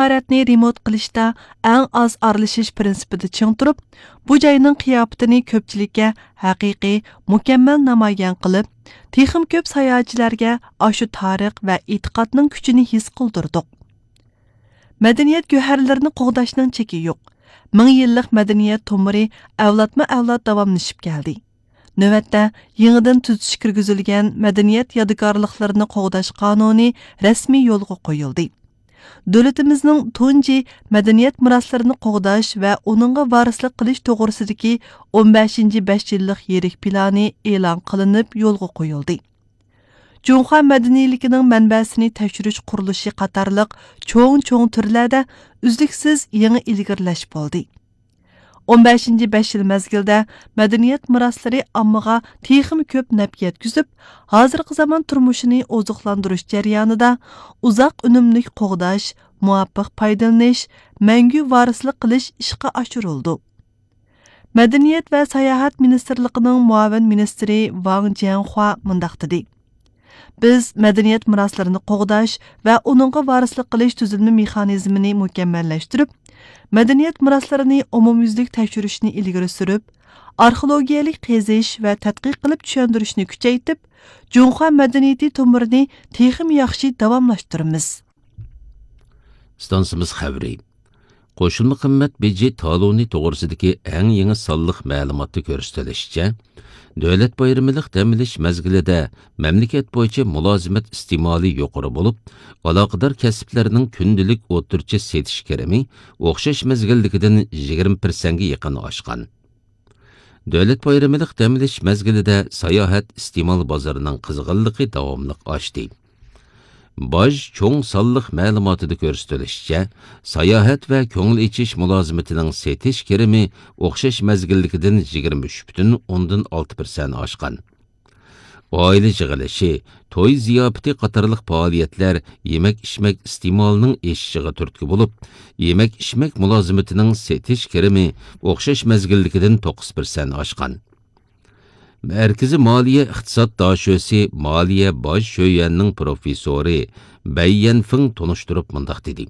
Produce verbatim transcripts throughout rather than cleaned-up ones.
زىيارەتنى رېمونت قىلىشتا ئەڭ ئاز ئارىلىشىش پىرىنسىپىدا چىڭ تۇرۇپ، بۇ جاينىڭ قىياپىتىنى كۆپچىلىككە ھەقىقىي، مۇكەممەل نامايان قىلىپ، تېخىمۇ كۆپ ساياھەتچىلەرگە ئاشۇ تارىخ ۋە ئېتىقادنىڭ كۈچىنى ھېس قىلدۇردۇق. مەدەنىيەت گۆھەرلىرىنى قوغداشنىڭ چېكى يوق. مىڭ يىللىق مەدەنىيەت تومۇرى ئەۋلادمۇ ئەۋلاد داۋاملىشىپ كەلدى. نۆۋەتتە، يېڭىدىن تۈزىتىش كىرگۈزۈلگەن مەدەنىيەت يادىكارلىقلىرىنى قوغداش قانۇنى رەسمىي يولغا قويۇلدى. دۆلىتىمىزنىڭ تۇنجى مەدەنىيەت مىراسلىرىنى قوغداش ۋە ئۇنىڭغا ۋارىسلىق قىلىش توغرىسىدىكى ئون بەشىنچى بەش يىللىق يىرىك پىلانى ئېلان قىلىنىپ يولغا قويۇلدى. جۇڭخۇا مەدەنىيلىكىنىڭ مەنبەسىنى تەكشۈرۈش قۇرۇلۇشى قاتارلىق چوڭ-چوڭ تۈرلەردە ئۈزلۈكسىز يېڭى ئىلگىرىلەش بولدى. ئون بەشىنچى بەش يىل مەزگىلدە مەدەنىيەت مىراسلىرى ئاممىغا تېخىمۇ كۆپ نەپ يەتكۈزۈپ، ھازىرقى زامان تۇرمۇشىنى ئوزۇقلاندۇرۇش جەريانىدا ئۇزاق ئۈنۈملۈك قوغداش، مۇۋاپىق پايدىلىنىش، مەڭگۈ ۋارىسلىق قىلىش ئىشقا ئاشۇرۇلىدۇ. مەدەنىيەت ۋە ساياھەت مىنىستىرلىقىنىڭ مۇئاۋىن مىنىستىرى ۋاڭ جيەنخۇا مۇنداق دېدى: بىز مەدەنىيەت مىراسلىرىنى قوغداش ۋە ئۇنىڭغا ۋارىسلىق قىلىش تۈزۈلمە مېخانىزمىنى مۇكەممەللەشتۈرۈپ، مەدەنىيەت مىراسلىرىنى ئومۇميۈزلۈك تەكشۈرۈشنى ئىلگىرى سۈرۈپ، ئارخېئولوگىيەلىك قېزىش ۋە تەتقىق قىلىپ چۈشەندۈرۈشنى كۈچەيتىپ، جۇڭخۇا مەدەنىيىتى تومۇرىنى تېخىمۇ ياخشى داۋاملاشتۇرىمىز. ئىستانسىمىز خەۋىرى. قوشۇلما قىممەت بېجى تالونى توغرىسىدىكى ئەڭ يېڭى سانلىق مەلۇماتتا كۆرسىتىلىشىچە، دۆلەت بايرىمىلىق دەم ئېلىش مەزگىلىدە مەملىكەت بويىچە مۇلازىمەت ئىستېمالى يۇقىرى بولۇپ، ئالاقىدار كەسىپلەرنىڭ كۈندىلىك ئوتتۇرىچە سېتىش كىرىمى ئوخشاش مەزگىلدىكىدىن يىگىرمە پىرسەنتكە يېقىن ئاشقان. دۆلەت بايرىمىلىق دەم ئېلىش مەزگىلىدە ساياھەت ئىستېمال بازىرىنىڭ قىزغىنلىقى داۋاملىق ئاشتى. باج چوڭ سانلىق مەلۇماتىدا كۆرسىتىلىشىچە، ساياھەت ۋە كۆڭۈل ئېچىش مۇلازىمىتىنىڭ سېتىش كىرىمى ئوخشاش مەزگىلدىكىدىن يىگىرمە ئۈچ پۈتۈن ئوندىن ئالتە پىرسەنت ئاشقان. ئائىلە يىغىلىشى، توي زىياپىتى قاتارلىق پائالىيەتلەر يېمەك-ئىچمەك ئىستېمالىنىڭ ئېشىشىغا تۈرتكە بولۇپ، يېمەك-ئىچمەك مۇلازىمىتىنىڭ سېتىش كىرىمى ئوخشاش مەزگىلدىكىدىن توققۇز پىرسەنت ئاشقان. مەركىزىي مالىيە ئىقتىساد داشۆسى مالىيە باج شۆيۈەننىڭ پروفېسسورى بەي يەنفېڭ تونۇشتۇرۇپ مۇنداق دېدى: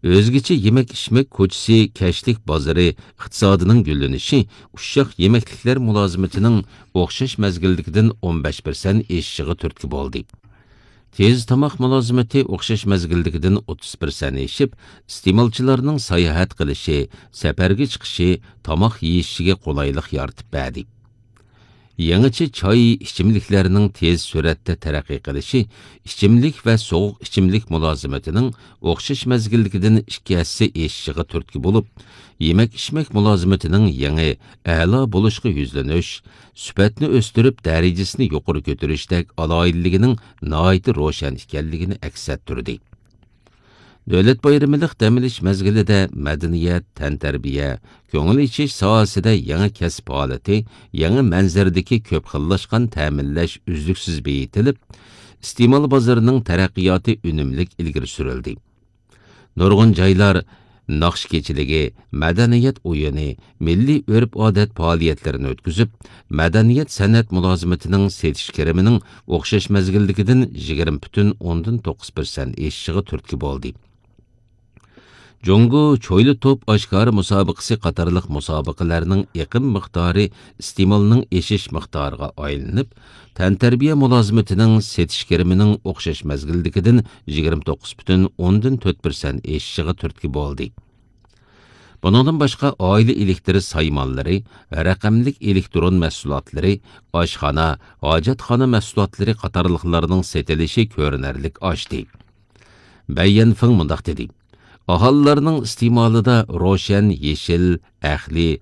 ئۆزگىچە يېمەك-ئىچمەك كوچىسى، كەچلىك بازىرى ئىقتىسادىنىڭ گۈللىنىشى ئۇششاق يېمەكلىكلەر مۇلازىمىتىنىڭ ئوخشاش مەزگىلدىكىدىن ئون بەش پىرسەنت ئېشىشىغا تۈرتكە بولدى. تېز تاماق مۇلازىمىتى ئوخشاش مەزگىلدىكىدىن ئوتتۇز پىرسەنت ئېشىپ، ئىستېمالچىلارنىڭ ساياھەت قىلىشى، سەپەرگە چىقىشى، تاماق يېيىشىگە قولايلىق يارىتىپ بەردى. يېڭىچە چاي ئىچىملىكلەرنىڭ تېز سۈرئەتتە تەرەققىي قىلىشى ئىچىملىك ۋە سوغۇق ئىچىملىك مۇلازىمىتىنىڭ ئوخشاش مەزگىلدىكىدىن ئىككى ھەسسە ئېشىشىغا تۈرتكە بولۇپ، يېمەك-ئىچمەك مۇلازىمىتىنىڭ يېڭى ئەلا بولۇشقا يۈزلىنىش، سۈپەتنى ئۆستۈرۈپ، دەرىجىسىنى يۇقىرى كۆتۈرۈشتەك ئالاھىدىلىكىنىڭ ناھايىتى روشەن ئىكەنلىكىنى ئەكس ئەتتۈردى. دۆلەت بايرىمىلىق دەم ئېلىش مەزگىلىدە مەدەنىيەت، تەنتەربىيە، كۆڭۈل ئېچىش ساھەسىدە يېڭى كەسىپ ھالىتى، يېڭى مەنزىرىدىكى كۆپ خىللاشقان تەمىنلەش ئۈزلۈكسىز بېيىتىلىپ، ئىستېمال بازىرىنىڭ تەرەققىياتى ئۈنۈملۈك ئىلگىرى سۈرۈلدى. نۇرغۇن جايلار ناخشا كېچىلىكى، مەدەنىيەت ئويۇنى، مىللىي ئۆرپ-ئادەت پائالىيەتلىرىنى ئۆتكۈزۈپ، مەدەنىيەت سەنئەت مۇلازىمىتىنىڭ سېتىش كىرىمىنىڭ ئوخشاش مەزگىلدىكىدىن يىگىرمە پۈتۈن ئوندىن توققۇز پىرسەنت ئېشىشىغا تۈرتكە بولدى. جۇڭگو چويلا توپ ئاشكارا مۇسابىقىسى قاتارلىق مۇسابىقىلەرنىڭ ئېقىم مىقدارى ئىستېمالنىڭ ئېشىش مىقدارىغا ئايلىنىپ، تەنتەربىيە مۇلازىمىتىنىڭ سېتىش كىرىمىنىڭ ئوخشاش مەزگىلدىكىدىن يىگىرمە توققۇز پۈتۈن ئوندىن تۆت پىرسەنت ئېشىشىغا تۈرتكە بولدى. بۇنىڭدىن باشقا، ئائىلە ئېلېكتىر سايمانلىرى، رەقەملىك ئېلېكترون مەھسۇلاتلىرى، ئاشخانا، ھاجەتخانا مەھسۇلاتلىرى قاتارلىقلارنىڭ سېتىلىشى كۆرۈنەرلىك ئاشتى. بەي يەنفېڭ مۇنداق دېدى: ئاھالىلەرنىڭ ئىستېمالىدا روشەن يېشىل، ئەقلىي،